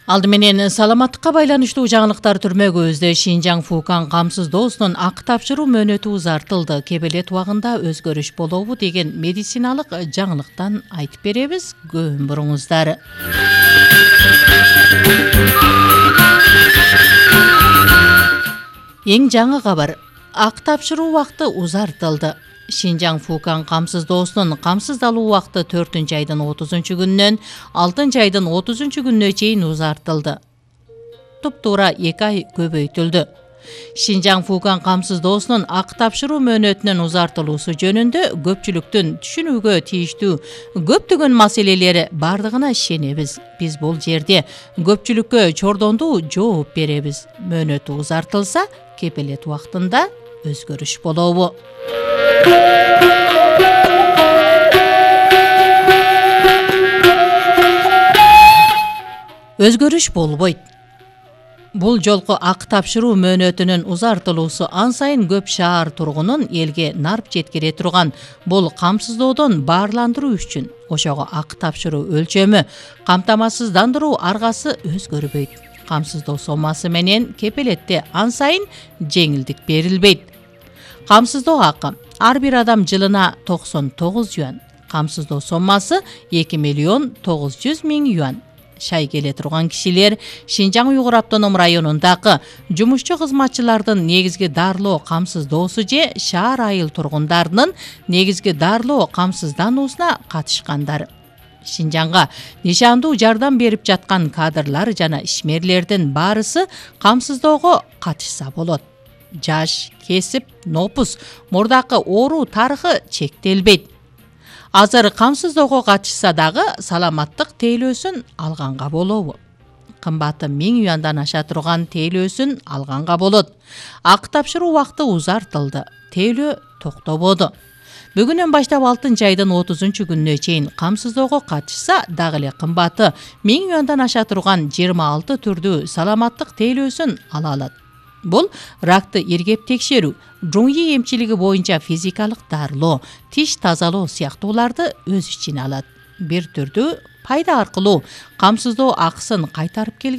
Алды менен саламаттыкка байланыштуу жаңылыктар түрмөгүбүздө Шинжаң Фукан камсыздоосунун акы тапшыруу мөөнөтү узартылды. Кебелет убагында өзгөрүш болобу деген медициналык жаңылыктан айтып беребиз. Көбүн буруңуздар. Эң жаңы кабар. Акы тапшыруу убакыты узартылды. Шинжаң Фукан камсыздоосунун камсыздалуу убакыты 4-айдын 30-күнүнөн 6-айдын 30-күнүнө чейин узартылды. Туптуура 2 ай көбөйтүлдү. Шинжаң Фукан камсыздоосунун акы тапшыруу мөөнөтүнүн узартылуусу жөнүндө көпчүлүктүн түшүнүүгө тийиштүү көптөгөн маселелери бардыгына ишенебиз. Биз бул жерде көпчүлүккө чордондуу жооп беребиз. Мөөнөтү узартылса, кепелет убактында өзгөрүш болобу? Өзгөрүш болбойт. Бул жолку акы тапшыруу мөөнөтүнүн узартылуусу ан сайын көп шаар тургунун элге нарп жеткире турган бул камсыздоодон баарландыруу үчүн. Ошого акы тапшыруу өлчөмү, камтамасыздандыруу аргасы өзгөрбөйт. Камсыздоо сомасы менен кепелетте ан сайын жеңилдик берилбейт. Камсыздоо акы ар бир адам жылына 99 юан. Камсыздоо сомасы 2.900.000 юан. Шай келе турган кишилер Шинжаң Уйгур автоном районундагы жумушчу кызматчылардын негизги дарылоо камсыздоосу же шаар айыл тургундарынын негизги дарылоо камсыздануусуна катышкандар. Шинжаңга нишандуу жардам берип жаткан кадрлар жана ишмерлердин баарысы камсыздоого катышса болот. Жаш, кесип, нопус, мурдакы оору тарыхы чектелбейт. Азыр камсыздоого катышса дагы саламаттык тейлөөсүн алганга болобу? Кымбаты 1000 юандан аша турган тейлөөсүн алганга болот. Акы тапшыруу убакыты узартылды. Тейлөө токтободу. Бүгүнөн баштап 6-айдын 30-күнүнө чейин камсыздоого катышса, дагы эле кымбаты 1000 юандан аша турган 26 түрдүү саламаттык тейлөөсүн ала алат. Бул ракты иргеп текшерүү, жуңи эмчилиги боюнча физикалык дарылоо, тиш тазалоо сыяктууларды өз ичине алат. Бир түрдүү пайда аркылуу камсыздоо акысын кайтарып келген